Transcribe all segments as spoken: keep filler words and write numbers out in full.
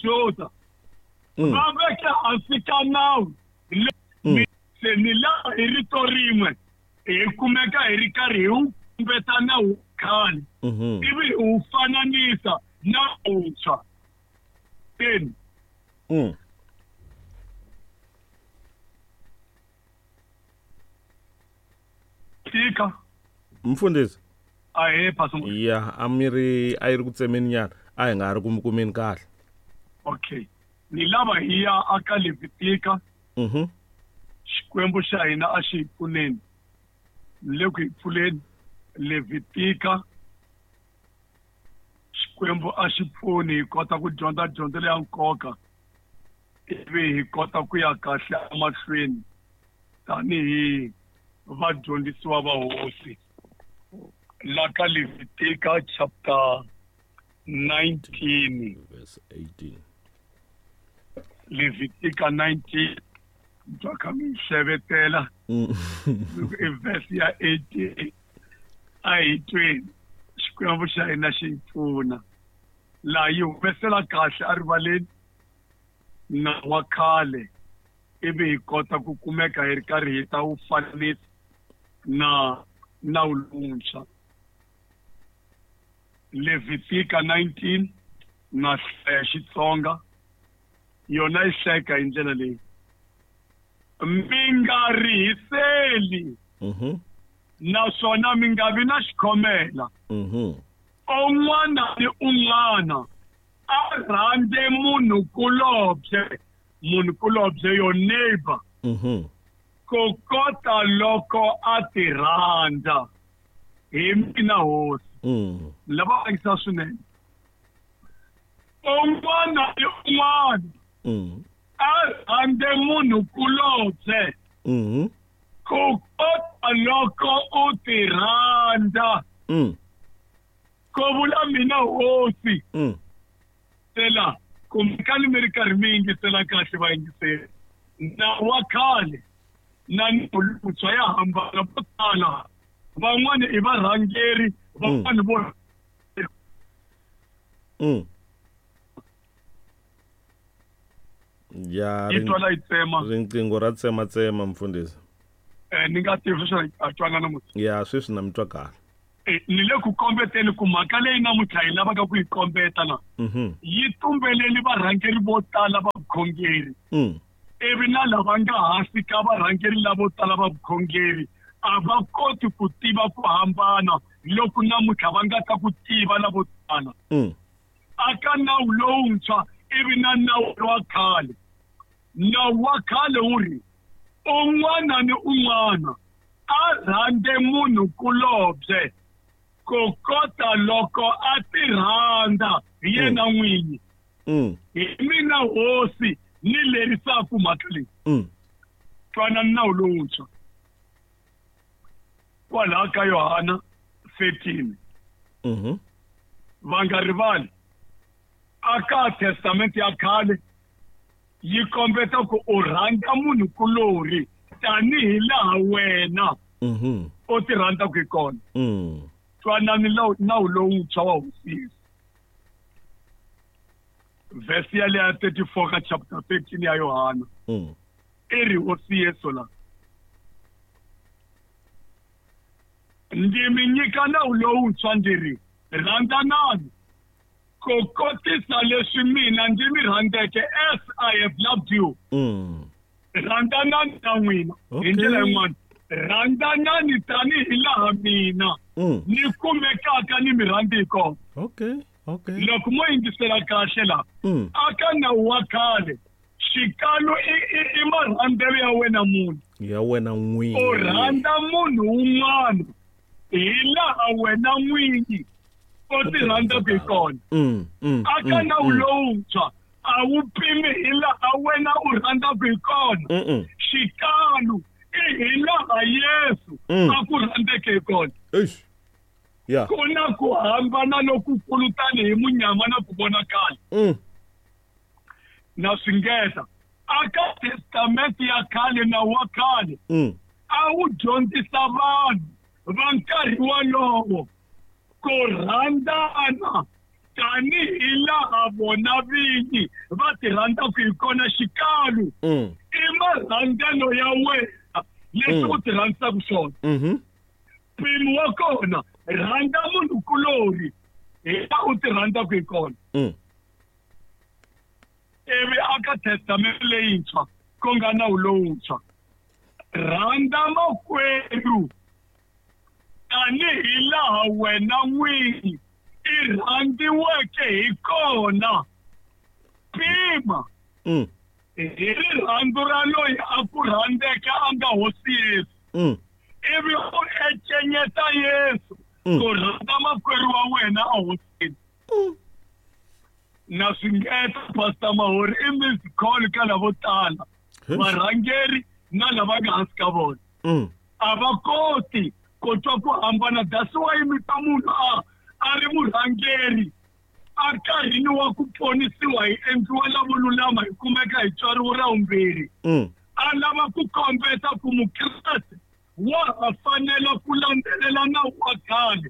Vajuda va veke hansi ka nawu se ni laha hi rito rin'we hi kumeka hi ri karhi hi wu kombeta nawu wa khale ivi hi wu fananisa na wuntshwa teni tika mfundisi ahe pastor ya a mi ri a yi ri ku tsemeni nyana a hi nga ha ri ku kumeni kahle okay ni lava hi ya aka Levitika mhm Xikwembu xa hina a xi hi pfuneni ni le ku hi pfuleni Levitika Xikwembu a xi pfuni hi kota ku dyondza dyondzo leya nkoka ivi hi kota ku ya kahle emahlweni tanihi vadyondzisiwa va hosi la ka Levitika chapter nineteen verse eighteen Levitika nineteen twa kha mi hlevetela i verse ya eighteen a hi tweni Xikwembu xa hina xi hi pfuna laha yi humesela kahle erivaleni nawu wa khale ivi hi kota ku kumeka hi ri karhi hi ta wu fananisa na nawu lowuntshwa Levitika nineteen na hlaya Xitsonga yona yi hlayeka hi ndlela leyi mi nga rihiseli mhm naswona mi nga vi na xikhomela mhm un'wana ni un'wana a rhandze munhu kulobye munhu kulobye your neighbor mhm ku kota loko a ti rhandza hi mina hosi mm lava vangisa swinene un'wana ni un'wana mm a rhandze munhu kulobye mhm ku kota loko u ti rhandza mm ku vula mina hosi mm sela kumbekani mi ri karhi mi yingisela kahle vayingiseri nawu wa khale na nawu lowuntshwa ya hambana vo tala van'wani i varhangeri van'wani vo mm ya yi twala yi tsema riqingho ra tsematsema mfundhisi eh ni nga tivi sweswi a twana namuntlha ya sweswi na mi twa kahle Eh, ni le ku kombeteni ku mhaka leyi namuntlha hi lavaka ku yi kombeta la mhm yi tumbeleli varhangeri vo tala va vukhongeri mm ivi na lava nga hansi ka varhangeri lavo tala va vukhongeri a va koti ku tiva ku hambana loko namuntlha va nga ta ku tiva lavo tala mm aka nawu lowuntshwa ivi na nawu wa khale nawu wa khale wu ri un'wana ni un'wana a rhandze munhu kulobye ku kota loko a ti rhandza hi yena n'winyi mm hi mina hosi ni lerisaka mhaka leyi mm twana nawu lowuntshwa kwalaha ka Yohana thirteen mhm va nga rivali aka testamente ya khale yi kombeta ku u rhandza munhu kulorhi tanihi laha wena mhm u ti rhandzaka hi kona mm twanani nawu nawu lowuntshwa wa hosi Yesu verse ya leya thirty-four ka chapter thirteen ya Yohana mm i ri hosi Yesu la ndzi mi nyika nawu lowuntshwa ndzi ri rhandzanani ku kotisa leswi mina ndzi mi rhandzeke as I have loved you mm rhandzanani na n'wina hi Okay. ndlela yin'wana rhandzanani tanihi laha mina mm ni kumekaka ni mi rhandzi hi kona okay okay loko mo yingisela kahle la mm aka nawu wa khale xikalo i i i marhandzelo ya wena munhu ya wena u n'wini rhandza munhu wun'wana hi laha wena n'winyi u ti rhandzaka hi kona mm mm aka mm, nawu mm. lowuntshwa a wu pimi hi laha wena u rhandzaka hi kona mm mm xikalo i hi laha Yesu Mm. a ku rhandzeke hi kona eish ya ku na ku hambana lokukulu tanihi munyama na ku vonakala mm na swingeta aka testamente ya khale nawu wa khale mm a wu dyondzisa vanhu va nkarhi wolowo ku rhandzana Tanihi laha vona vinyi va ti rhandzaka hi kona xikalu i marhandzelo ya wena leswi u ti rhandzaka swona. Mpimo wa kona rhandza munhukulorhi hi laha u ti rhandzaka hi kona. Ivi aka testamente leyintshwa ku nga nawu lowuntshwa rhandza makwerhu tanihi laha wena n'winyi i rhandziweke hi kona. Pima hi rirhandzu ra loyi a ku rhandzeke a nga hosi Yesu. Ivi u encenyeta Yesu ku rhandza makwerhu wa wena a hosini. Na swi ngeta Pastor Mahori i missed call ka lavo tala varhangeri na lava nga hansi ka vona. A va koti ku twa ku hambana. That's why mi ta munhu a a ri murhangeri a nkarhini wa ku ponisiwa hi endliwa lavo lulama hi kumeka hi tswariwo ra vumbirhi. A lava ku kombeta ku mukreste wa ha fanela ku landzelela nawu wa khale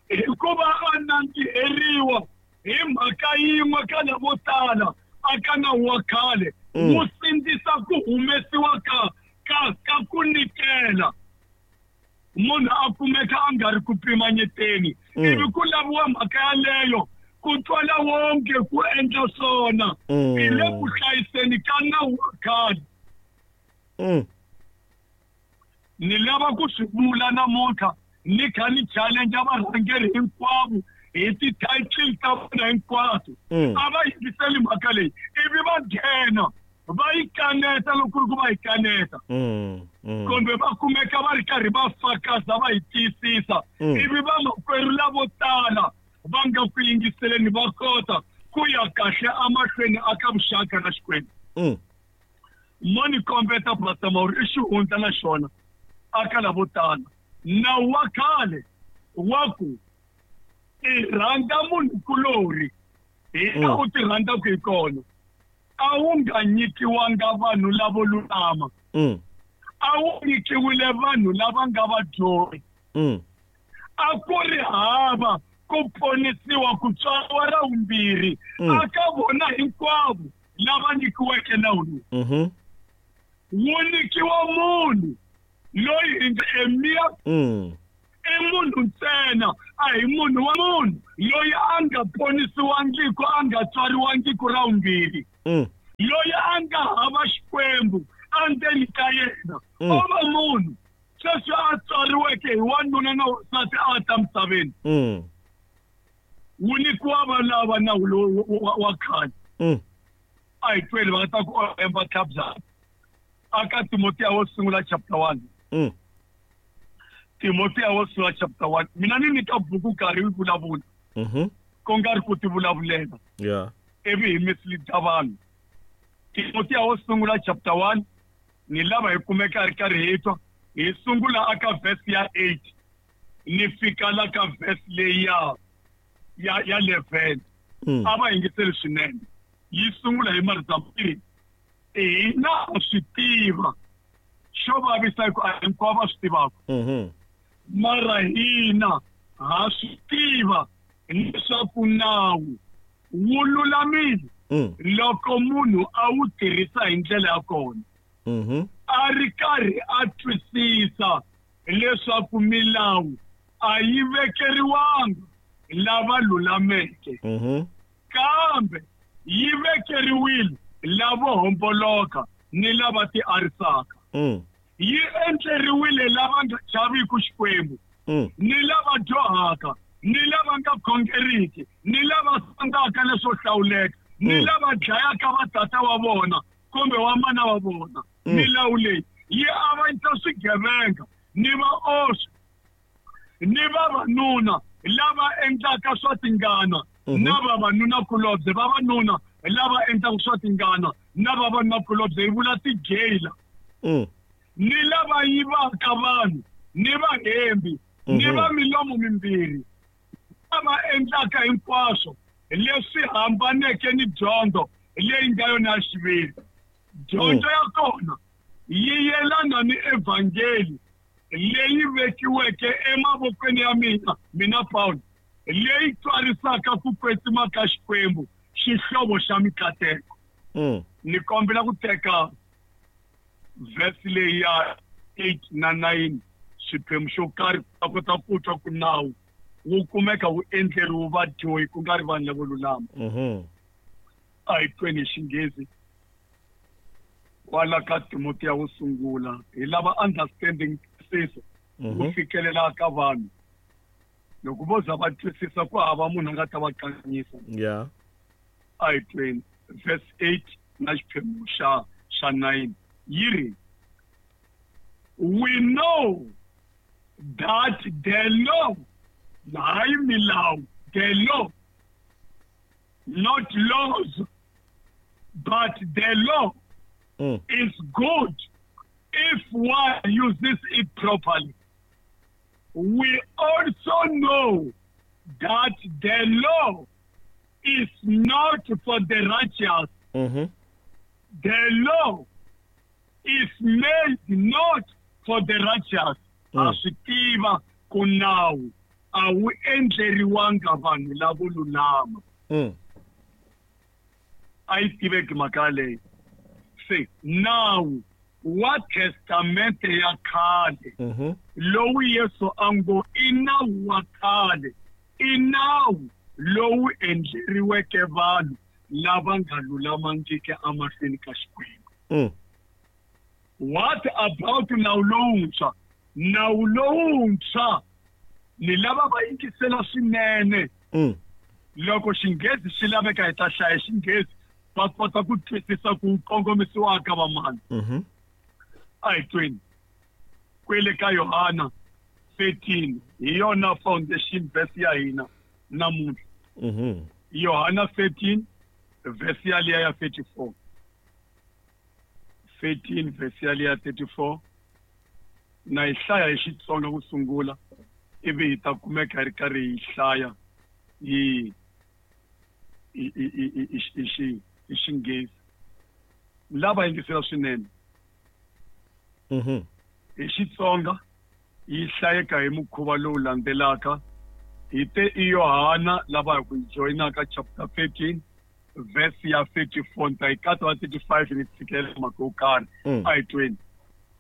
hikuva a nandziheriwa hi mhaka yin'we ka lavo tala aka nawu wa khale wu sindzisa ku humesiwa ka ka ka ku nyikela. Munhu a kumeka a nga ri ku pimanyeteni ivi ku laviwa mhaka yaleyo ku twala wonke ku endla swona hi le ku hlayiseni ka nawu wa khale. Ni lava ku swi vula namuntlha ni kha ni challenge varhangeri hinkwavo hi ti-title ta vona hinkwato. A va yingiseli mhaka leyi ivi va nghena va yi kaneta loko ku ri ku va yi kaneta kumbe va kumeka va ri karhi va fakaza va yi tiyisisa ivi vamakwerhu lavo tala va nga ku yingiseleni va kota ku ya kahle emahlweni aka vuxaka na Xikwembu. Mo ni kombeta Pastor Mahori i xihundla na xona aka lavo tala. Nawu wa khale wa ku i rhandza munhukulorhi hi laha u ti rhandzaka hi kona a wu nga nyikiwanga vanhu lavo lulama. A wu nyikiwile vanhu lava nga vadyohi. A ku ri hava ku ponisiwa ku tswariwa ra vumbirhi aka vona hinkwavo lava nyikiweke nawu lowu. Wu nyikiwa munhu loyi hi nga emiya i munhu ntsena a hi munhu wa munhu loyi a nga ponisiwangiki a nga tswariwangiki ra vumbirhi loyi a nga hava Xikwembu endzeni ka yena. O va munhu sweswi a tswariweke hi wanuna na wansati a ta misaveni. Wu nyikiwa valava nawu lowu wa khale. A hi tweli va ta ku emba tlhabya aka Timotiya wo sungula chapter one. Timotiya wo sungula chapter one. Mina ni nyika buku nkarhi yi vulavula ku nga ri ku ti vulavulela ivi hi mislead vanhu. Timotiya wo sungula chapter one ni lava hi kumeka ri karhi hi twa hi sungula aka verse ya eight ni fika la ka verse leyi ya ya ya eleven. A va yingiseli swinene. Yi sungula hi marito mambirhi hina ha swi tiva xo vavisa hi ku a hinkwavo va swi tivaka mara hina ha swi tiva leswaku nawu wu lulamile loko munhu a wu tirhisa hi ndlela ya kona a ri karhi a twisisa leswaku milawu a yi vekeriwanga lava lulameke kambe yi vekeriwile lavo homboloka ni lava ti arisaka. Yi endleriwile lava nga chaviki Xikwembu ni lava dyohaka ni lava nga khongeriki ni lava sangaka leswo hlawuleka ni lava dlayaka vatata wa vona kumbe wa mana wa vona. Milawu leyi yi avanyisa swigevenga ni vaoswi ni vavanuna lava endlaka swa tingana na vavanunakulobye vavanuna lava endlaka swa tingana na vavanunakulobye hi vula tigeyila ni lava yivaka vanhu ni vahembi ni va milomo mimbirhi lava endlaka hinkwaswo leswi hambaneke ni dyondzo leyi nga yona ya xiviri. Dyondzo ya kona yi yelana ni evhangeli leyi vekiweke emavokweni ya mina mina Paulo leyi twarisaka ku kwetsima ka Xikwembu, xihlovo xa mikateko. Mm. Ni kombela ku teka verse leyi ya eight na nine, xiphemu xo karhi va kota ku twa ku nawu wu kumeka wu endleriwe vadyohi ku nga ri vanhu lavo lulama. Mhm. A hi tweni hi Xinghezi kwala ka Timotiya wo sungula, hi lava understanding twisisa Mhm. ku fikelela ka vanhu. Loko vo za va twisisa ku hava munhu a nga ta va kanganyisa. Yeah. A hi tweni verse eight na xiphemu xa, xa nine yi ri, we know that the law, hayi milawu, the law, not laws, but the law Mm. is good if one uses it properly. We also know that the law is not for the righteous. Mm-hmm. The law is made not for the righteous. Mm. A swi tiva ku nawu a wu endleriwanga vanhu lavo lulama. Mm. A yi tiveki mhaka leyi. Se nawu wa testamente ya khale Mm-hmm. lowu Yesu a ngo i nawu wa khale, i nawu lowu endleriweke vanhu lava nga lulamangiki emahlweni ka Xikwembu. Mm. What about nawu lowuntshwa? Nawu lowuntshwa ni lava va yingisela swinene. Mm. Loko Xinghezi xi laveka hi ta hlaya Xinghezi va kota ku twisisa ku kongomisiwa ka vamani. Mm-hmm. A hi tweni kwele ka Yohana thirteen, hi yona foundation verse ya hina namuntlha. Mm-hmm. Yohana thirteen verse ya liya ya thirty-four. thirteen verse ya liya thirty-four. Na hi hlaya hi Xitsonga ku sungula, ivi hi ta kumeka hi ri karhi hi hlaya hi, hi, hi, hi, hi, hi, hi, hi, hi Xinghezi. Lava yingisela swinene. Mm-hmm. Hi Xitsonga yi hlayeka hi mukhuva lowu landzelaka. Hi te i Yohana lava hi ku joyinaka chapter thirteen verse ya thirty-four, ni ta yi katsa va thirty-five ni tshikelela mhaka yo karhi. Mm. A hi tweni.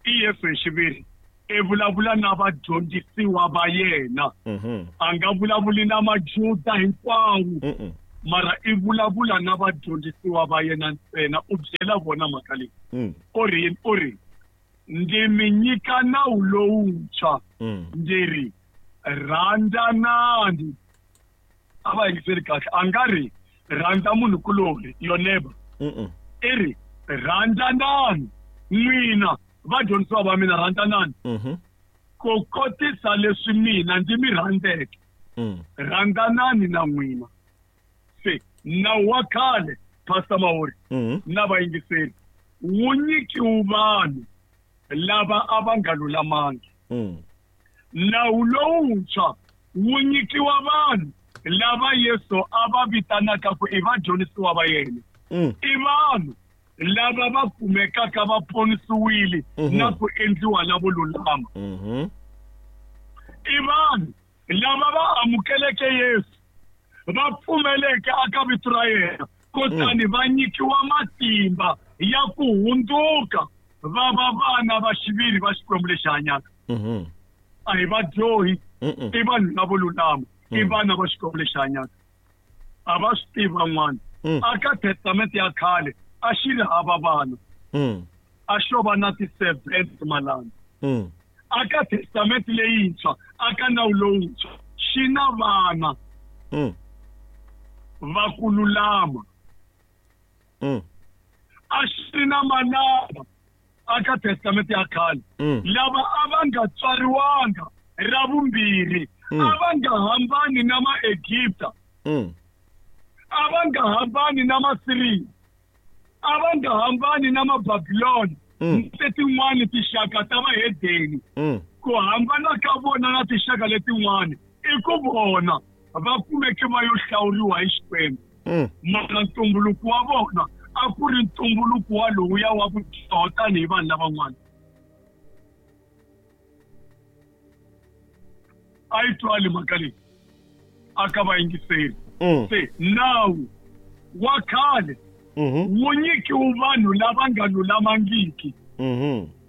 I Yesu hi xiviri i vulavula na vadyondzisiwa va yena. Mm-hmm. A nga vulavuli na Majuda hinkwawo. Mm-mm. Mara i vulavula na vadyondzisiwa va yena ntsena, u byela vona mhaka leyi. Mm. U ri yini? U ri, ndzi mi nyika nawu lowuntshwa. Mm. Ndzi ri, rhandzanani. A va yingiseli kahle. A nga ri rhandza munhukulorhi, your neighbor. Mm-mm. I ri rhandzanani n'wina vadyondzisiwa va mina, rhandzanani. Mm-hmm. Ku kotisa leswi mina ndzi mi rhandzeke. Mm. Rhandzanani na n'wina. Se nawu wa khale, Pastor Mahori, Mm-hmm. na vayingiseri, wu nyikiwe vanhu lava a va nga lulamangi. Mm. Nawu lowuntshwa wu nyikiwa vanhu lava Yesu a va vitanaka ku i vadyondzisiwa va yena. Mm. I vanhu lava va kumekaka va ponisiwile Mm-hmm. na ku endliwa lavo lulama. Mm-hmm. I vanhu lava va amukeleke Yesu, va pfumeleke aka vito ra yena, kutani Mm. va nyikiwa matimba ya ku hundzuka va va vana va xiviri va Xikwembu lexi hanyaka. Mm-hmm. A hi vadyohi, Mm-mm. i vanhu lavo lulama, i Mm. vana va Xikwembu lexi hanyaka. A va swi tivi van'wana. Mm. Aka testamente ya khale a xi ri hava vana. Mm. A xo va na ti-servants malana. Mm. Aka testamente leyintshwa, aka nawu lowuntshwa, xi na vana Mm. va ku lulama. Mm. A xi ri na manana aka testamente ya khale. Mm. Lava a va nga tswariwanga ra vumbirhi, Mm. a va nga hambani na Maegipta. Mm. A va nga hambani na Masiriya. A va nga hambani na Mababilona. Mm. Letin'wani tinxaka ta vahedeni. Mm. Ku hambana ka vona na tinxaka letin'wani i ku vona va kumeke va yo hlawuriwa hi Xikwembu. Mm. Mara ntumbuluko wa vona a ku ri ntumbuluko wa lowuya wa ku dyoha tanihi vanhu lavan'wana. A yi twali mhaka leyi. aka vayingiseri. Se nawu wa khale wu nyikiwe vanhu lava nga lulamangiki,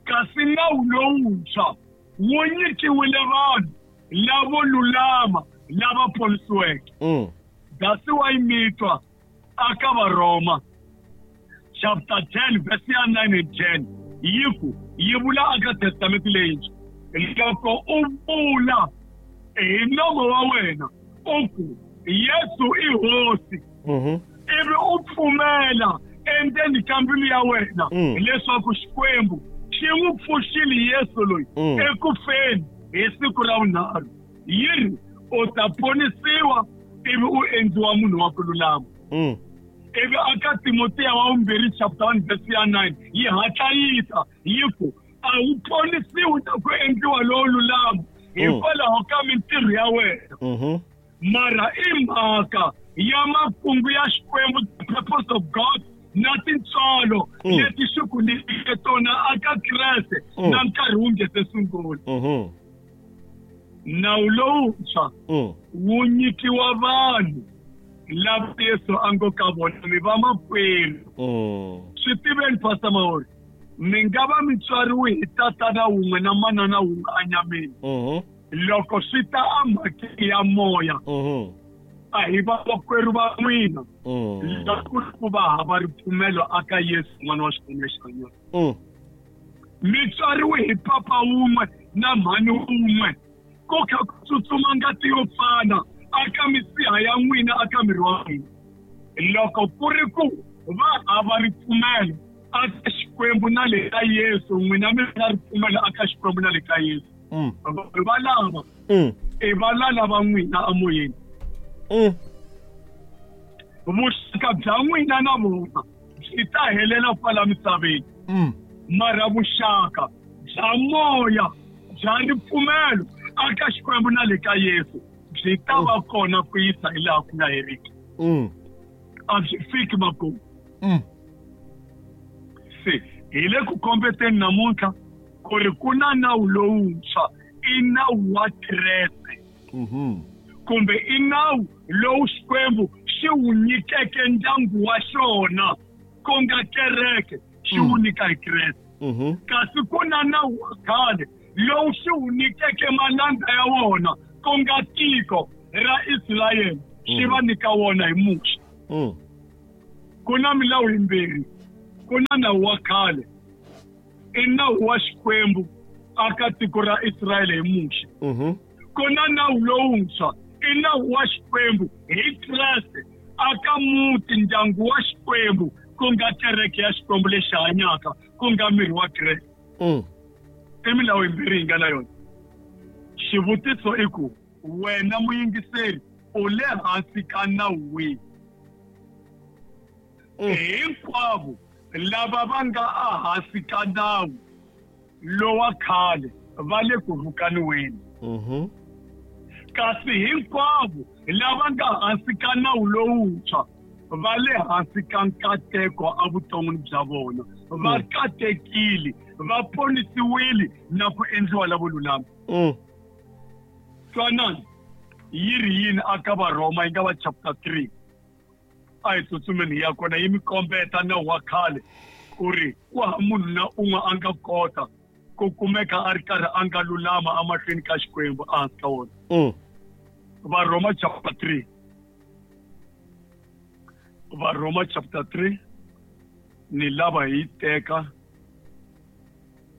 kasi nawu lowuntshwa wu nyikiwile vanhu lavo lulama lava ponisiweke. That's why mi twa aka Varoma chapter ten verse ya nine and ten yi ku yi vula aka Testament leyintshwa, loko u vula hi nomo wa wena u ku Yesu i Hosi, ivi u pfumela endzeni ka mbilu ya wena leswaku Xikwembu xi n'wi pfuxile Yesu loyi eku feni hi siku ra vunharhu, yi ri u ta ponisiwa ivi u endliwa munhu wa ku lulama. Ivi aka Timotiya wa vumbirhi chapter one verse ya nine yi hatla yi ta yi ku a wu ponisiwi na ku endliwa lowo lulama hikwalaho ka mintirho ya wena, mara i mhaka ya makungu ya Xikwembu, the purpose of God, na tintswalo leti xi ku nyikeke tona aka Kreste na nkarhi wu nge se sungula. Nawu lowuntshwa wu nyikiwa vanhu lava Yesu a ngo ka vona mi va makwerhu. Swi tiveni Pastor Mahori, mi nga va mi tswariwe hi tatana wun'we na manana wun'we enyameni, loko swi ta emhakeni ya moya a hi vamakwerhu va n'wina loko ku va hava ripfumelo aka Yesu n'wana wa Xikwembu lexi hanyaka. Mi tswariwe hi papa wun'we na mhani wun'we, ku kha ku tsutsuma ngati yo fana aka misiha ya n'wina aka miri wa n'wina. Loko ku ri ku va hava ripfumelo aka Xikwembu na le ka Yesu, n'wina mi na ripfumelo aka Xikwembu na le ka Yesu, vanhu va lava i valala va n'wina emoyeni. Vuxaka bya n'wina na vona byi ta helela kwala misaveni, mara vuxaka bya moya bya ripfumelo aka Xikwembu na le ka Yesu byi ta va kona ku yisa hi laha ku nga heriki. A byi fiki makumu. Se hi le ku kombeteni namuntlha ku ri ku na nawu lowuntshwa, i nawu wa Kreste, kumbe i nawu lowu Xikwembu xi wu nyikeke ndyangu wa xona ku nga kereke, xi wu nyika hi Kreste. Kasi ku na nawu wa khale lowu xi wu nyikeke malandza ya wona ku nga tiko ra Israyele, xi va nyika wona hi Muxe. Ku na milawu yimbirhi, ku na nawu wa khale, i nawu wa Xikwembu aka tiko ra Israyele hi Muxe. Ku na nawu lowuntshwa, i nawu wa Xikwembu hi Kreste aka muti ndyangu wa Xikwembu ku nga kereke ya Xikwembu lexi hanyaka ku nga miri wa Kreste. I milawu yimbirhi yi nga na yona. Xivutiso i ku wena muyingiseri u le hansi ka nawu wihi? Hinkwavo lava va nga ehansi ka nawu lowa khale va le ku rhukaniweni, kasi hinkwavo lava nga hansi ka nawu lowuntshwa va le hansi ka nkateko evuton'wini bya vona, va katekile, va ponisiwile na ku endliwa lavo lulama. Twanani yi ri yini aka Varhoma yi nga va chapter three, a hi tsutsumeni hi ya kona, yi mi kombeta nawu wa khale ku ri ku hava munhu na un'we a nga kota ku kumeka a ri karhi a nga lulama emahlweni ka Xikwembu ehansi ka wona. Varhoma chapter three, Varhoma chapter three ni lava hi teka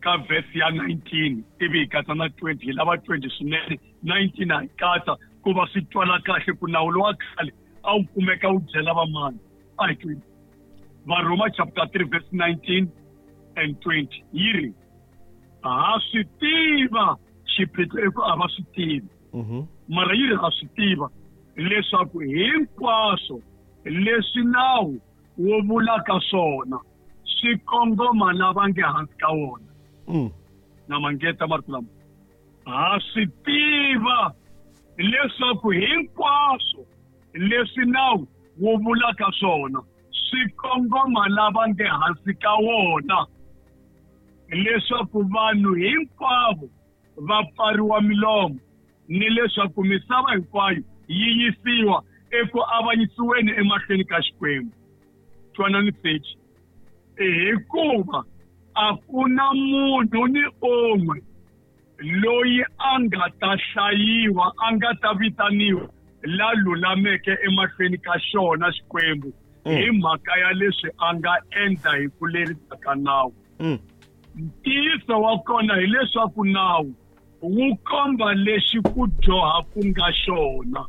ka verse ya nineteen ivi hi katsa na twenty, hi lava twenty swinene, nineteen a hi katsa ku va swi twala kahle ku nawu lowa khale a wu kumeka wu byela vamani. A hi twenty. Varhoma chapter three verse nineteen and twenty yi ri ha swi tiva, xiphiqo i ku a va swi tivi, mara yi ri ha swi tiva leswaku hinkwaswo leswi nawu wu vulaka swona swi kongoma lava nge hansi ka wona. Na mangeta marito lama, ha swi tiva leswaku hinkwaswo leswi nawu wu vulaka swona swi kongoma lava nge hansi ka wona, leswaku vanhu hinkwavo va pfariwa milomo ni leswaku misava hinkwayo yi yisiwa eku avanyisiweni emahlweni ka Xikwembu. Twanani thirty, hikuva a ku na munhu ni un'we loyi a nga ta hlayiwa, a nga ta vitaniwa la lulameke emahlweni ka xona Xikwembu hi mhaka ya leswi a nga endla hi ku lerisa ka nawu. Ntiyiso wa kona hileswaku nawu wu komba lexi ku dyoha ku nga xona.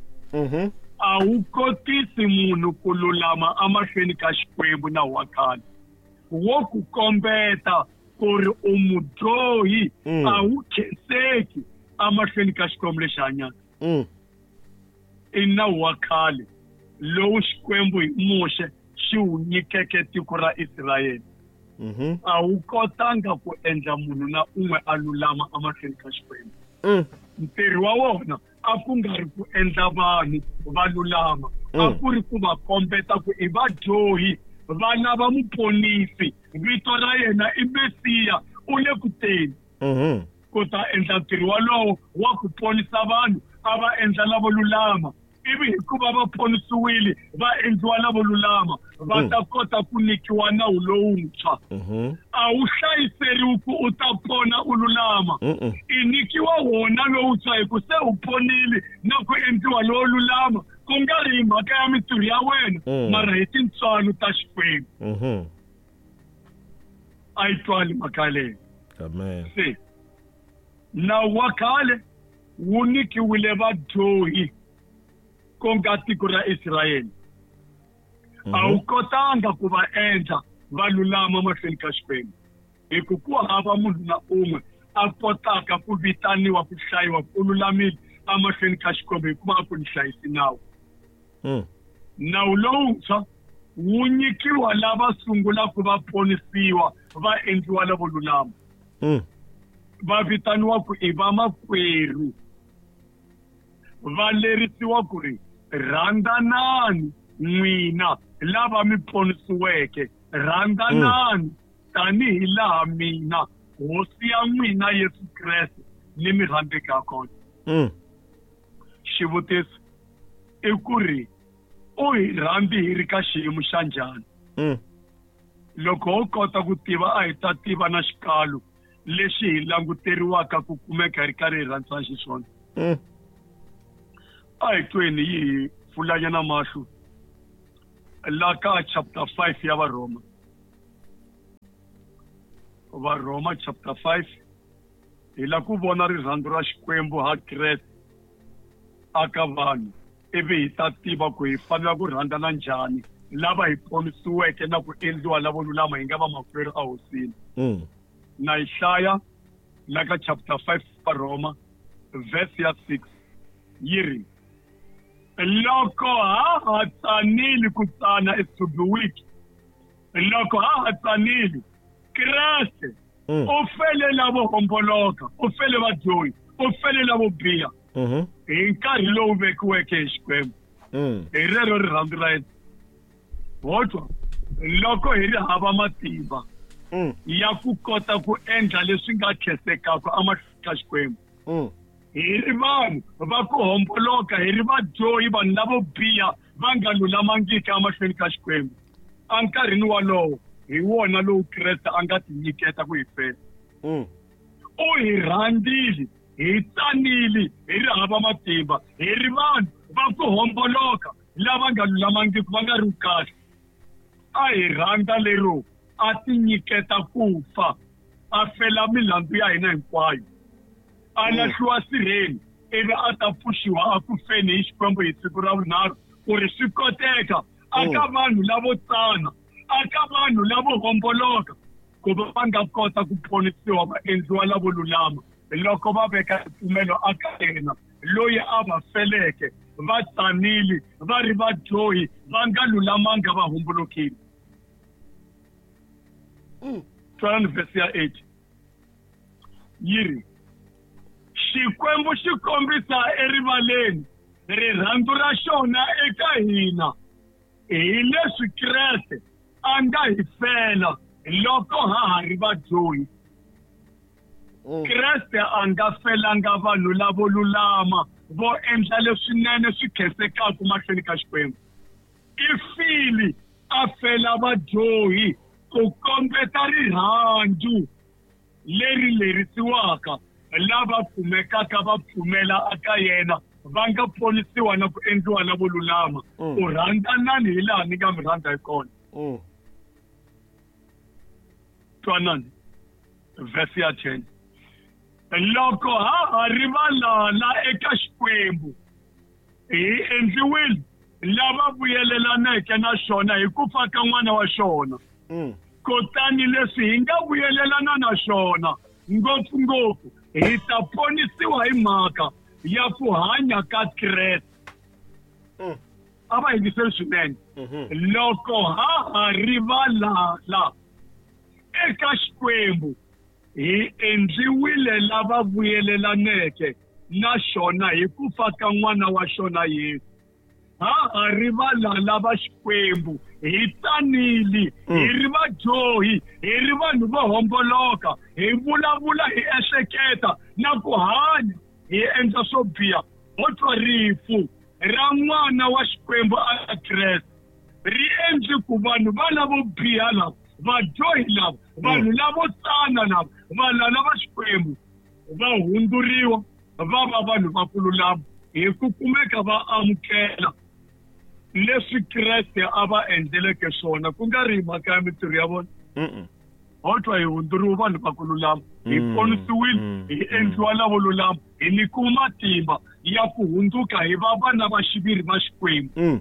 A wu kotisi munhu ku lulama emahlweni ka Xikwembu nawu wa khale. Wo ku kombeta ku ri u mudyohi, a wu khenseki emahlweni ka Xikwembu lexi hanyaka. I nawu wa khale lowu Xikwembu hi Muxe xi wu nyikeke tiko ra Israyele. A wu kotanga ku endla munhu na un'we a lulama emahlweni ka Xikwembu. Ntirho wa wona a ku nga ri ku endla vanhu va lulama, a ku ri ku va kombeta ku i vadyohi, vana va muponisi, vito ra yena i Mesiya, u le ku teni. Ku ta endla ntirho walowo wa ku ponisa vanhu, a va endla lavo lulama, ivi hikuva va ponisiwile va endliwa lavo lulama, va ta kota ku nyikiwa nawu lowuntshwa. A wu hlayiseriwi ku u ta pona u lulama, i nyikiwa wona lowuntshwa hi ku se u ponile na ku endliwa lowo lulama, ku nga ri hi mhaka ya mintirho ya wena, mara hi tintswalo ta Xikwembu. A yi twali mhaka leyi. Se nawu wa khale wu nyikiwile vadyohi, ku nga tiko ra Israyele. A wu kotanga ku va endla va lulama mahlweni ka Xikwembu, hi ku ku hava munhu na un'we a kotaka ku vitaniwa ku hlayiwa ku lulamile emahlweni ka Xikwembu hikuva a ku ni hlayisi nawu. Nawu lowuntshwa wu nyikiwa lava sungulaka va ponisiwa va endliwa lavo lulama, va vitaniwa ku i vamakwerhu, va lerisiwa ku ri rhandzanani n'wina lava mi ponisiweke, rhandzanani tanihi laha mina Hosi ya n'wina Yesu Kreste ni mi rhandzeke ha kona. Xivutiso i ku ri u hi rhandzi hi ri ka xiyimo xa njhani? Loko ho kota ku tiva, a hi ta tiva na xikalo lexi hi languteriwaka ku kumeka hi ri karhi hi rhandzana xiswona. A hi tweni yi hi pfulanyana mahlo la ka chapter five ya Varhoma. Varhoma chapter five, hi la ku vona rirhandzu ra Xikwembu ha Kreste aka vanhu, ivi hi ta tiva ku hi fanela ku rhandzana njhani lava hi ponisiweke na ku endliwa lavo lulama hi nga vamakwerhu ehosini. Na yi hlaya la ka chapter five Varhoma verse ya six, yi ri loko ha ha tsanile ku tsana is to be weak, loko ha ha tsanile Kreste u fele lavo homboloka, u fele vadyohi, u fele lavo biha hi nkarhi lowu vekiweke hi Xikwembu. Hi rero rirhandzu ra yena. Ho twa loko hi ri hava matimba ya ku kota ku endla leswi nga khensekaka emahlweni ka Xikwembu, hi ri vanhu va ku homboloka, hi ri vadyohi, vanhu lavo biha va nga lulamangiki emahlweni ka Xikwembu, enkarhini walowo hi wona lowu Kreste a nga tinyiketa ku hi fela. U hi rhandzile, hi tsanile, hi ri hava matimba, hi ri vanhu va ku homboloka lava nga lulamangiki, va nga ri kahle. A hi rhandza lero a tinyiketa ku fa, a fela milandzu ya hina hinkwayo, a lahliwa sirheni ivi a ta pfuxiwa a ku feni hi Xikwembu hi siku ra vunharhu, ku ri swi koteka aka vanhu lavo tsana, aka vanhu lavo homboloka, ku va va nga kota ku ponisiwa va endliwa lavo lulama loko va veka ripfumelo aka yena loyi a va feleke, va tsanile, va ri vadyohi, va nga lulamanga, va hombolokile. Twanani verse ya eight, yi ri Xikwembu xi kombisa erivaleni rirhandzu ra xona eka hina hi leswi Kreste a nga hi fela loko ha ha ri vadyohi. Kreste a nga felanga vanhu lavo lulama vo endla leswinene swi khensekaka mahlweni ka Xikwembu. I file a fela vadyohi ku kombeta rirhandzu leri lerisiwaka lava kumekaka va pfumela aka yena va nga ponisiwa na ku endliwa lavo lulama. U rhandzanani hi laha ni nga mi rhandza hi kona. Twanani verse ya ten. Loko ha ha ri valala eka Xikwembu hi endliwile lava vuyelelaneke na xona hi ku fa ka n'wana wa xona. Kutani leswi hi nga vuyelelana na xona ngopfungopfu hi ta ponisiwa hi mhaka ya ku hanya ka Kreste. A va yingiseli swinene. Loko ha ha ri valala eka Xikwembu hi endliwile lava vuyelelaneke na xona hi ku fa ka n'wana wa xona Yesu. Ha ha ri valala va Xikwembu hi tsanile, hi ri vadyohi, hi ri vanhu vo homboloka, hi vulavula hi ehleketa na ku hanya hi endla swo biha. Ho twa rifu ra n'wana wa Xikwembu a Kreste ri endle ku vanhu va lavo biha lava, vadyohi lava, vanhu lavo tsana lava, valala va Xikwembu va hundzuriwa va va vanhu va ku lulama hi ku kumeka va amukela leswi Kreste a va endleleke swona, ku nga ri mhaka ya mintirho ya vona. Ho twa hi hundzuriwa vanhu va ku lulama, hi ponisiwile, hi endliwa lavo lulama, hi nyikiwa matimba ya ku hundzuka hi va vana va xiviri va Xikwembu.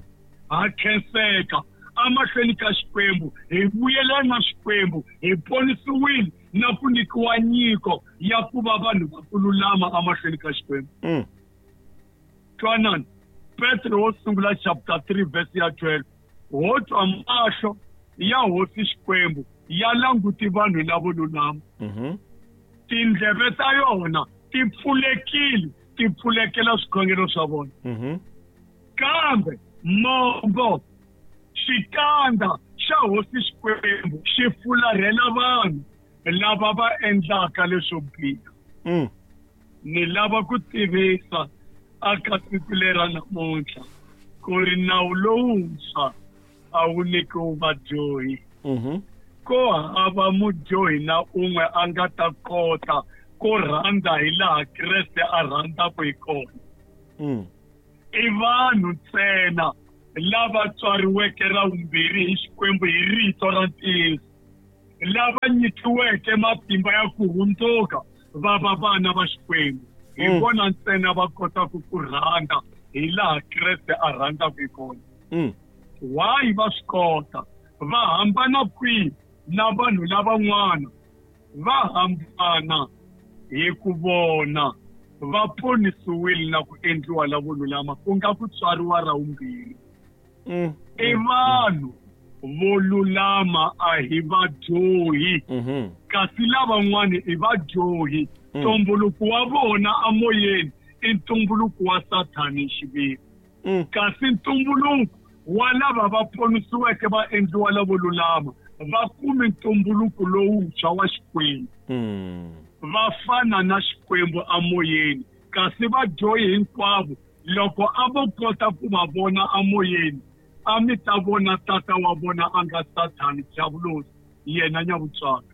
Ha khenseka amahlweni ka Xikwembu, hi vuyelana na Xikwembu, hi ponisiwile na ku nyikiwa nyiko ya ku va vanhu va ku lulama amahlweni ka Xikwembu. Twanani Petro wo sungula chapter three verse ya twelve. Ho twa mahlo ya hosi Xikwembu ya languti vanhu lavo lulama. Tindleve ta yona ti pfulekile, ti pfulekela swikhongelo swa vona. Kambe mombo xikandza xa hosi Xikwembu xi fularhela vanhu lava va endlaka leswo biha. Ni lava ku tivisa aka siku lera namuntlha ku ri nawu lowuntshwa a wu nyikiwi vadyohi. Ko hava mudyohi na un'we a nga ta kota ku rhandza hi laha Kreste a rhandzaka hi kona. I vanhu ntsena lava tswariweke ra vumbirhi hi Xikwembu hi rito ra ntiyiso, lava nyikiweke matimba ya ku hundzuka va va vana va Xikwembu. Hi vona ntsena va kotaka ku rhandza hi laha Kreste a rhandzaka hi kona. Why va swi kota? Va hambana kwihi na vanhu lavan'wana? Va hambana hi ku vona va ponisiwile na ku endliwa lavo lulama, ku nga ku tswariwa ra vumbirhi. I vanhu vo lulama, a hi vadyohi. Kasi lavan'wana i vadyohi. Ntumbuluko wa vona amoyeni i ntumbuluko wa Sathani xiviri. Kasi ntumbuluko wa lava va ponisiweke va endliwa lavo lulama va kume ntumbuluko lowuntshwa wa Xikwembu. Va fana na Xikwembu amoyeni. Kasi vadyohi hinkwavo loko a vo kota ku va vona amoyeni, a mi ta vona tata wa vona a nga Sathani diavulosi, yena nyavutswaka.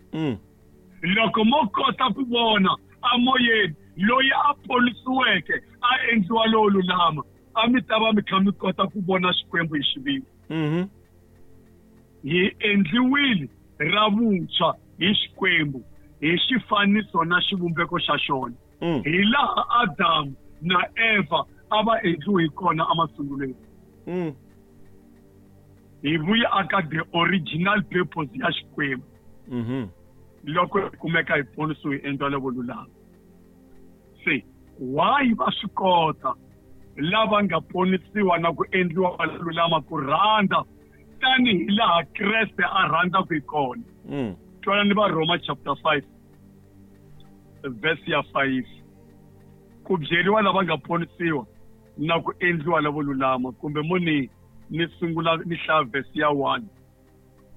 Loko mo kota ku vona amoyeni loyi a ponisiweke a endliwa lowo lulama, a mi ta va mi kha mi kota ku vona Xikwembu hi xiviri. Hi endliwile ra vuntshwa hi Xikwembu hi xifaniso na xivumbeko xa xona, hi laha Adamu na Eva a va endliwe hi kona emasungulweni. Hi vuya aka the original purpose ya Xikwembu. Loko hi kumeka hi ponisiwe hi endliwa lavo lulama. Se why va swi kota lava nga ponisiwa na ku endliwa va lulama ku rhandza tanihi laha Kreste a rhandzaka hi kona? Twanani va Roma chapter five verse ya five. Ku byeriwa lava nga ponisiwa na ku endliwa lavo lulama, kumbe mo ni ni sungula ni hlaya verse ya one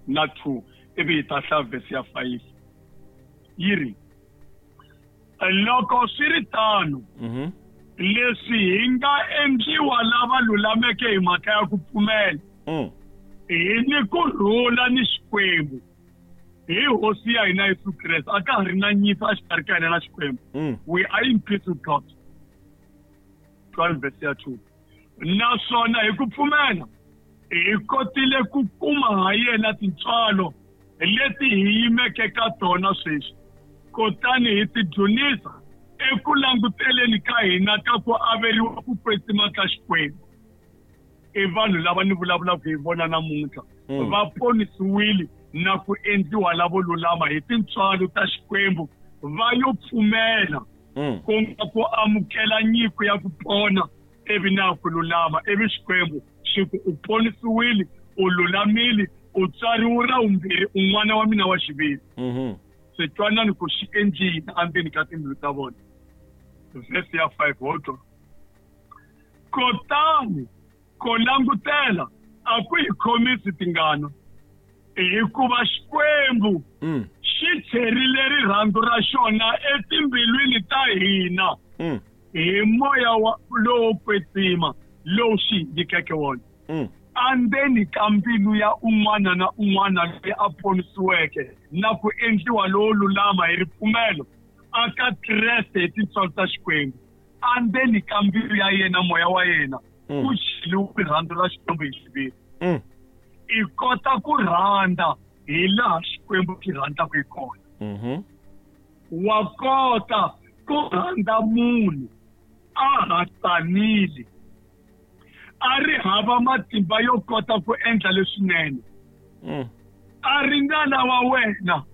na two ivi hi ta hlaya verse ya five. Yi ri, loko swi ri tano, Leswi hi nga endliwa lava lulameke hi mhaka ya ku pfumela, Mm. hi ni ku rhula ni Xikwembu hi Hosi ya hina Yesu Kreste. A ka ha ri na nyimpi exikarhi ka hina na Xikwembu. Mm. We are in peace with God. twelve verse ya two. Naswona hi ku pfumela hi kotile ku kuma ha yena tintswalo leti hi yimeke ka tona sweswi, kutani hi tidzunisa eku languteleni ka hina ka ku averiwa ku kwetsima ka Xikwembu. I vanhu lava ni vulavulaka hi vona namuntlha, Mm. va ponisiwile na ku endliwa lavo lulama hi tintswalo ta Xikwembu, va yo pfumela Mm. ku nga ku amukela nyiko ya ku pona ivi na ku lulama, ivi Xikwembu xi ku u ponisiwile, u lulamile, u tswariwe ra vumbirhi, u n'wana wa mina wa xiviri. Mhm. Se twanani ku xi endlile endzeni ka timbilu ta vona. Verse ya five, ho twa. Kutani ku langutela a ku hi khomisi tingana, hikuva Xikwembu Mm. xi cherile rirhandzu ra xona etimbilwini ta hina Mm. hi moya wa lowo kwetsima lowu xi hi nyikeke wona. Mm. Endzeni ka mbilu ya un'wana na un'wana loyi a ponisiweke na ku endliwa lowo lulama hi ripfumelo aka Kreste hi tintswalo ta Xikwembu, endzeni ka mbilu ya yena moya wa yena Mm. ku cheliwe rirhandzu ra Xikwembu hi xiviri. Mm. I kota ku rhandza hi laha Xikwembu xi rhandzaka hi kona. Mhm. Wa kota ku rhandza munhu a ha tsanile, a ri hava matimba yo kota ku endla leswinene, Mm. a ri ngana wa wena,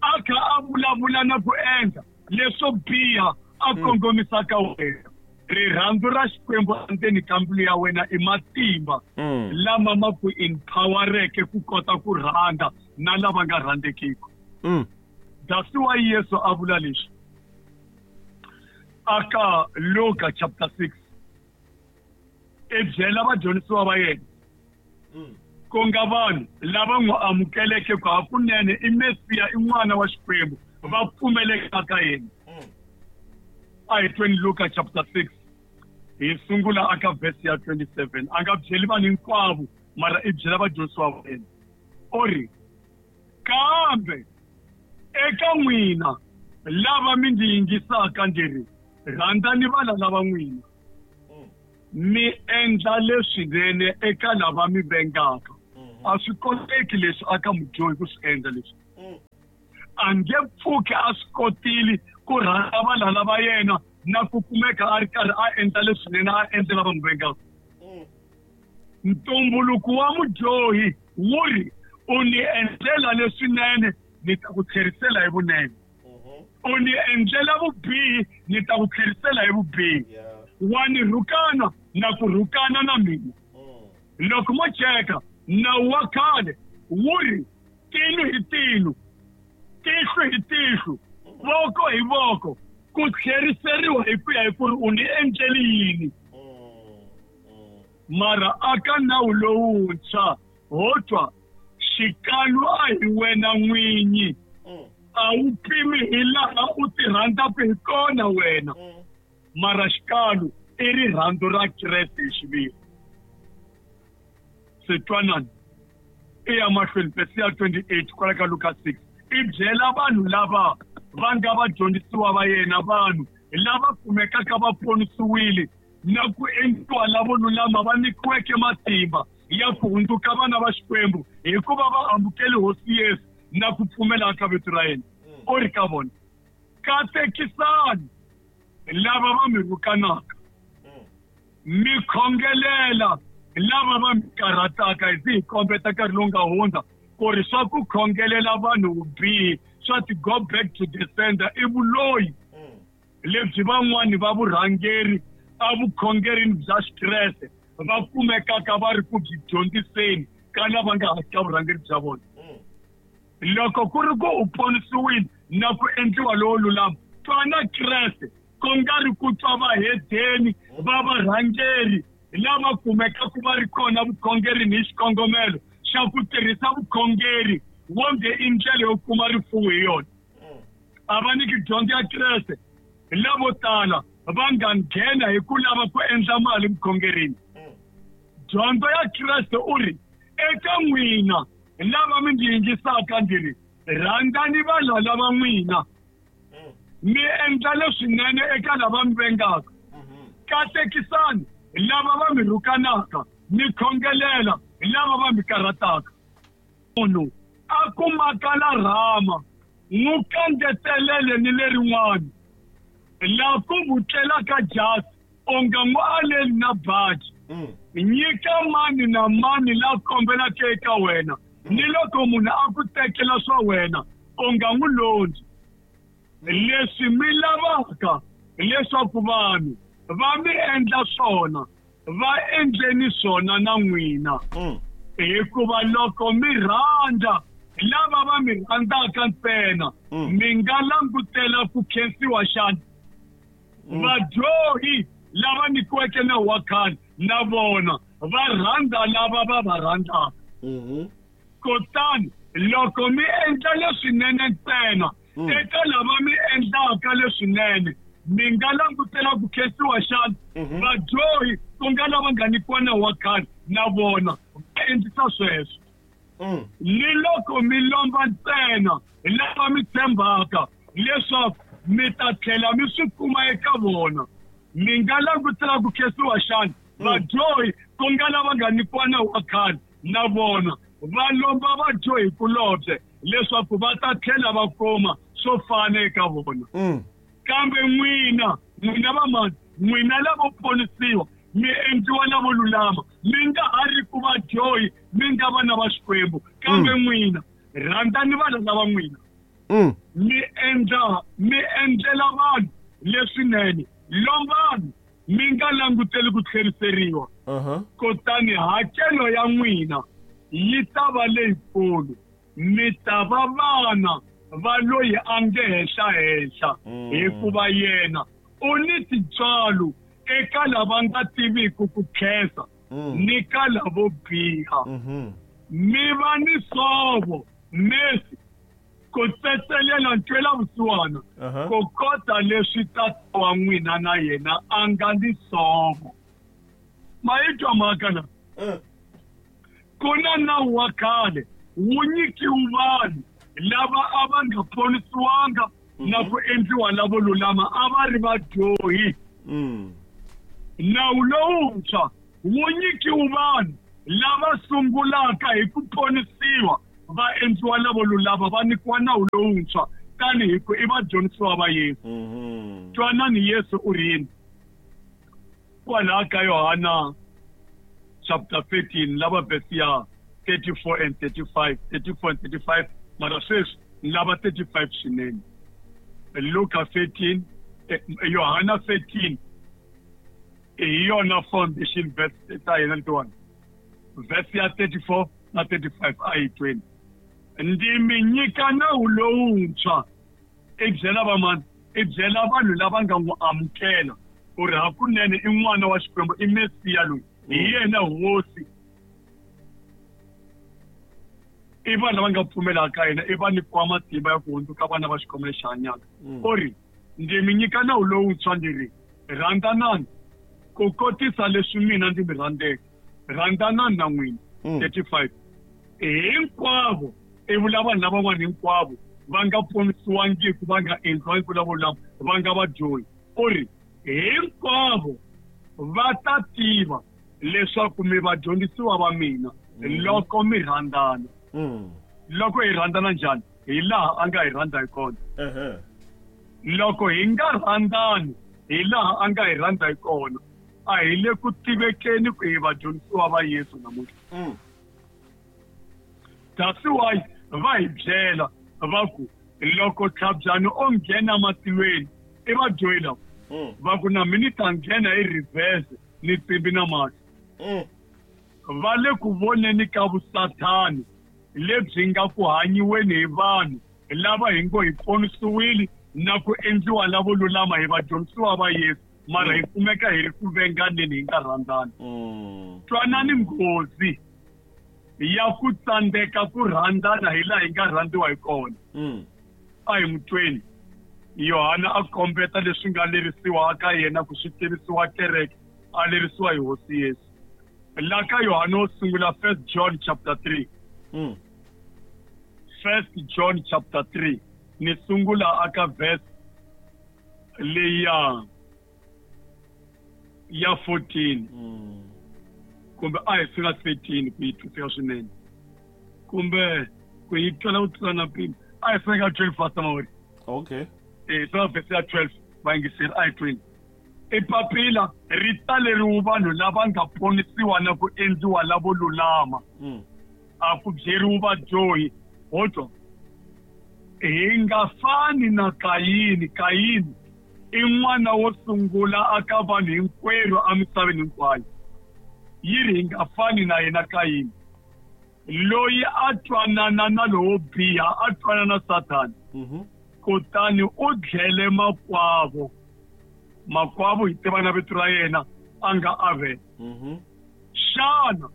a kha a vulavula na ku endla leswo biha a kongomisaka wena. Rirhandzu ra Xikwembu endzeni ka mbilu ya wena i matimba Mm. lama ma ku empowereke ku kota ku rhandza na lava nga rhandzekiki. Mm. That's why Yesu a vula leswi aka Luka chapter six, i byela vadyondzisiwa va yena, Mm. ku nga vanhu lava n'wi amukeleke ku hakunene i Mesiya, i n'wana wa Xikwembu, va pfumeleke ka yena. Mm. A hi tweni Luka chapter six, hi sungula aka verse ya twenty-seven. A nga byeli vanhu hinkwavo, mara i byela vadyondzisiwa va yena. U ri, kambe eka n'wina lava mi ndzi yingisaka ndzi ri, rhandzani valala va n'wina, mi endla leswinene eka lava mi vengaka. A swi koteki leswi aka mudyohi ku swi endla leswi. A nge pfuki a swi kotile ku rhandza valala va yena na ku kumeka a ri karhi a endla leswinene a endlela vanhu vengaka. Ntumbuluko wa mudyohi wu ri, u ni endlela leswinene ni ta ku tlherisela hi vunene, u ni endlela vubihi ni ta ku tlherisela hi vubihi, wa ni rhukana na ku rhukana na mina. Loko mo cheka nawu wa khale wu ri tino hi tino, tihlo hi tihlo, voko hi voko, ku tlheriseriwa hi ku ya hi ku ri u ni endleli yini. Mara aka nawu lowuntshwa ho twa xikalu a hi wena n'winyi, a wu pimi hi laha u ti rhandzaka hi kona wena, mara xikalu i rirhandzu ra Kreste hi xiviri. Se twanani i ya mahlweni verse ya twenty-eight kwala ka Luka six, i byela vanhu lava va nga vadyondzisiwa va yena, vanhu lava kumekaka va ponisiwile na ku endliwa lavo lulama, va nyikiweke matimba ya ku hundzuka vana va Xikwembu hikuva va amukele Hosi Yesu na ku pfumela ka vito ra yena. U ri ka vona, katekisani lava va mi rhukanaka, mi khongelela lava va mi karhataka. Hi zi hi kombeta nkarhi lowu nga hundza ku ri swa ku khongelela vanhu vubihi swa ti go back to the sender i vuloyi lebyi van'wani va vurhangeri a vukhongerini bya Xikreste va kumekaka va ri ku byi dyondziseni ka lava nga hansi ka vurhangeri bya vona. Loko ku ri ku u ponisiwile na ku endliwa lowo lulama, twana Kreste, ku nga ri ku twa vahedeni va varhangeri lava kumekaka va ri kona vukhongerini hi xikongomelo xa ku tirhisa vukhongeri wonge i ndlela yo kuma rifuwo hi yona. A va nyiki dyondzo ya Kreste. Lavo tala va nga nghena hi ku lava ku endla mali vukhongerini. Dyondzo ya Kreste u ri eka n'wina lava mi ndzi yingisaka ndzi ri rhandzani valala va n'wina, mi endla leswinene eka lava mi vengaka, katekisani lava va mi rhukanaka, mi khongelela lava va mi karhataka. Munhu a kumaka la rhama n'wi kangetelele ni lerin'wana, laha ku vutlelaka jasi u nga n'wi aleli na baji. Nyika mani na mani la kombelaka eka wena, ni loko munhu a ku tekela swa wena u nga n'wi londzi. Leswi mi lavaka leswaku vanhu va mi endla swona, va endleni swona na n'wina. Hikuva loko mi rhandza lava va mi rhandzaka ntsena, mi nga langutela ku khensiwa xana? Vadyohi lava nyikiweke nawu wa khale na vona va rhandza lava va va rhandzaka. Kutani loko mi endla leswinene ntsena eka lava mi endlaka leswinene, mi nga langutela ku khensiwa xana? Vadyohi ku nga lava nga nyikiwa nawu wa khale na vona va endlisa sweswo. Ni loko mi lomba ntsena lava mi tshembaka leswaku mi ta tlhela mi swi kuma eka vona, mi nga langutela ku khensiwa xana? Vadyohi ku nga lava nga nyikiwa nawu wa khale na vona va lomba vadyohi kulobye leswaku va ta tlhela va kuma swo fana eka vona. Kambe n'wina, n'wina vamani, n'wina lavo ponisiwa, mi endliwa lavo lulama, mi nga ha ri ku vadyohi, mi nga vana va Xikwembu. Kambe n'wina rhandzani valala va n'wina, mi endla mi endlela vanhu leswinene, lombani mi nga languteli ku tlheriseriwa. Kutani hakelo ya n'wina yi ta va leyikulu, mi ta va vana va loyi a nge henhlahenhla, hikuva yena u ni tintswalo eka lava nga tiviki ku khensa ni ka lavo biha. Mi va ni sovo mesi ku tsetselela ntwela vusiwana, ku kota leswi tata wa n'wina na yena a nga ni sovo. Ma yi twa mhaka na? Ku na nawu wa khale wu nyikiwe vanhu lava a va nga ponisiwanga na ku endliwa lavo lulama, a va ri vadyohi. Nawu lowuntshwa wu nyikiwe vanhu lava sungulaka hi ku ponisiwa va endliwa lavo lulama, va nyikiwa nawu lowuntshwa tanihi ku i vadyondzisiwa va Yesu. Twanani Yesu u ri yini kwalaha ka Yohana chapter thirteen lava verse ya thirty-four and thirty-five, thirty-four and thirty-five, mara sweswi lava thirty-five swinene. Luka thirteen, Yohana thirteen hi yona foundation verse ta yena letiwani, verse ya thirty-four na thirty-five a yi tweni. Ndzi mi nyika nawu lowuntshwa, i byela vamani? I byela vanhu lava nga n'wi amukela ku ri hakunene i n'wana wa Xikwembu, i Mesiya loyi, hi yena hosi. I vanhu lava nga pfumelaka yena, i va nyikiwa matimba ya ku hundzuka vana va Xikwembu lexi hanyaka. U ri ndzi mi nyika nawu lowuntshwa, ndzi ri rhandzanani ku kotisa leswi mina ndzi mi rhandzeke, rhandzanani na n'wina. thirty-five hinkwavo, i vula vanhu lavan'wana hinkwavo va nga ponisiwangiki, va nga endliwangi lavo lulama, va nga vadyohi. U ri hinkwavo va ta tiva leswaku mi vadyondzisiwa va mina loko mi rhandzana. Loko hi rhandzana njhani? Hi laha a nga hi rhandza hi kona. Loko hi nga rhandzani hi laha a nga hi rhandza hi kona, a hi le ku tivekeni ku hi vadyondzisiwa va Yesu namuntlha. That's why va hi byela va ku loko tlhabyani o nghena matilweni i vadyohi lava, va ku na mina ni ta nghena hi reverse ni tsimbi na mahlo. Va le ku voneni ka vusathani lebyi nga ku hanyiweni hi vanhu lava hi ngo hi ponisiwile na ku endliwa lavo lulama hi vadyondzisiwa va Yesu, mara hi kumeka hi ri ku venganeni hi nga rhandzani. Twanani nghozi ya ku tsandzeka ku rhandzana hi laha hi nga rhandziwa hi kona. A hi n'wi tweni. Yohana a kombeta leswi nga lerisiwa ka yena ku swi tivisiwa kereke a lerisiwa hi Hosi Yesu. La ka Yohana wo sungula First John chapter three. Mm. First John chapter three ni sungula aka verse leya ya fourteen. Mm. Kumbe a hi sungula thirteen ku yi twisisa swinene. Kumbe ku yi twela ku tlula na mpimo. A hi sungula twelve fasta mawuri. Okay. Eh so verse ya twelve vayingiseri a hi tweni. I papila ri taleriwe vanhu lava nga ponisiwa na ku endliwa lavo lulama. Mm. A ku byeriwi vadyohi. Ho twa. Hi nga fani na Kayini. Kayini i n'wana wo sungula aka vanhu hinkwerhu emisaveni hinkwayo. Yi ri hi nga fani na yena Kayini. Loyi a twanana na lowo biha, a twanana na Sathana. Mhm. Kutani u dlele makwavo. Makwavo hi tiva na vito ra yena a nga Avele. Mhm. Xana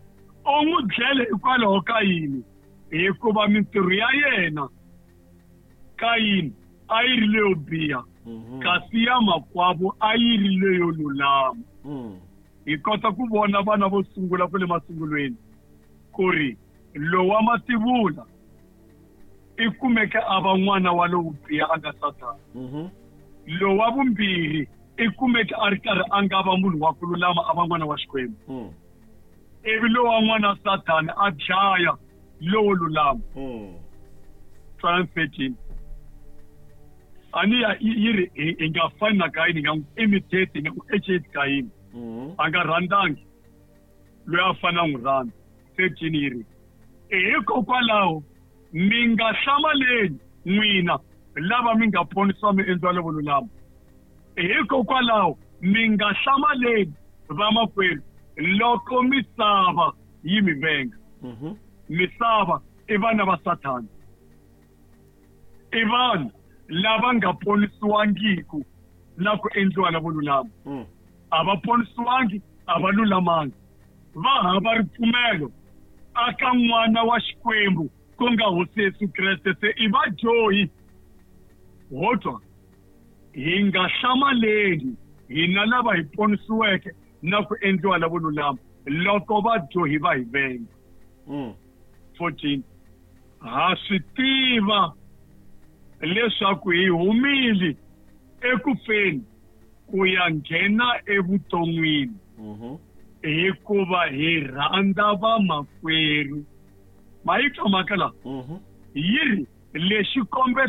u n'wi dlele hikwalaho ka yini? Hikuva mintirho ya yena Kayini a yi ri leyo biha, Mhm. kasi ya makwavo a yi ri leyo lulama. Mm. Hi kota ku vona vana vo sungula kwale masungulweni ku ri lowa mativula i kumeke a va n'wana wa lowo biha a nga Sathana. Mhm. Lowa vumbirhi i kumeke a ri karhi a nga va munhu wa ku lulama a va n'wana wa Xikwembu. Mm. Ivi lowa n'wana Sathana a dlaya lowo lulama. Mm. Twelve thirteen. A ni ya yi ri hi nga fani na Kayini, hi nga n'wi imitate, hi nga n'wi eceti Kayini. Mm. A nga rhandzangi loyi a fanele a n'wi rhandza. Thirteen yi ri hikokwalaho mi nga hlamaleni n'wina lava mi nga ponisiwa mi endliwa lavo lulama. Hikokwalaho mi nga hlamaleni vamakwerhu loko misava yi mi venga. Mhm. Misava i vana va Sathana. I vanhu lava nga ponisiwangiku na ku endliwa lavo lulama. Mm. A va ponisiwangi, a va lulamangi. Va hava ripfumelo aka n'wana wa Xikwembu ku nga Hosi Yesu Kreste. Se i vadyohi. Ho twa hi nga hlamaleni hina lava hi ponisiweke na ku endliwa lavo lulama loko vadyohi va hi venga. Mm. fourteen. Ha swi tiva leswaku hi humile ekufeni ku ya nghena evuton'wini. Mhm. Hikuva hi rhandza vamakwerhu. Ma yi twa mhaka laha? Mhm. Yi ri lexi kombetaka